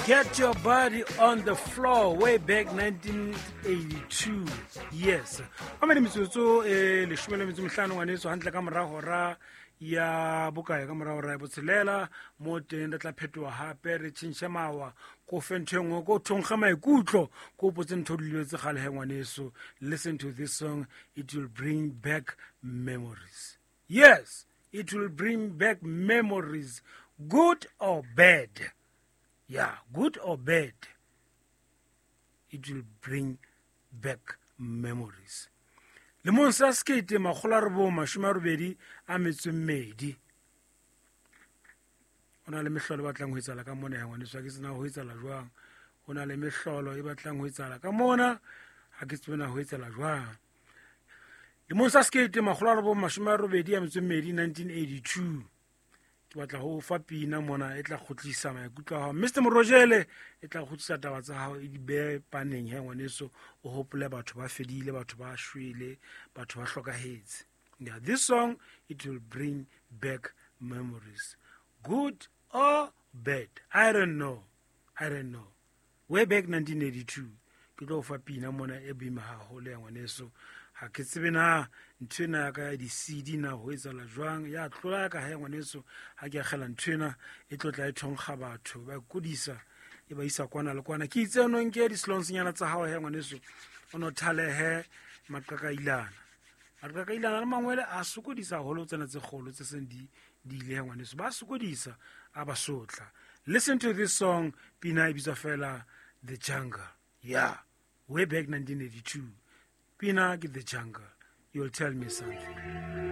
Get your body on the floor way back 1982. Yes. A mene metsotso e 15 ngwaneso hantle ka mora hora ya bokae, ka mora hora ya botshelela mo teng re tla phetoha hape re tjhentjhe mawa ko fe ntho e nngwe ko thonkga maikutlo ko potse ntho di lebetse kgale he ngwaneso. Listen to this song, it will bring back memories. Yes, it will bring back memories, good or bad. Yeah, good or bad, it will bring back memories. Lemong sa 1982, ho na le mehlolo e batlang ho etsahala ka mona ya ngwaneso, ha ke tsena ho etsahala jwang. Ho na le mehlolo e batlang ho etsahala ka mona, ha ke tsebe na ho etsahala jwang. Lemong sa 1982, 1982, ke batla ho fa pina mona e tla kgutlisa maikutlo a hao. Mr Morojele, e tla kgutlisa taba tsa hao e di behe paneng he ngwaneso, o hopole batho ba fedile, batho ba shwele, batho ba hlokahetse. Yeah, this song, it will bring back memories, good or bad, I don't know, I don't know. Way back 1982, ke tlo fa pina mona e boima haholo ya ngwaneso. Ha ke tsebe na ntho ena ya ka ya di-CD na ho etsahala jwang, ya tlola ya ka ha ya ngwaneso. Ha ke akgela ntho ena e tlo tla e thonkga batho, ba kodisa e ba isa kwana le kwana. Ke itse no nke di-slonsnyana tsa hao he ngwaneso, o no thalehe maqakailana. Maqakailana le mangwele a sokodisa haholo, tsena tse kgolo tse seng di di ile he ngwaneso, ba sokodisa a ba sotla. Listen to this song, pina e bitswa fela The Jungle. Yeah, way back 1982, pina ke The Jungle. You'll tell me something.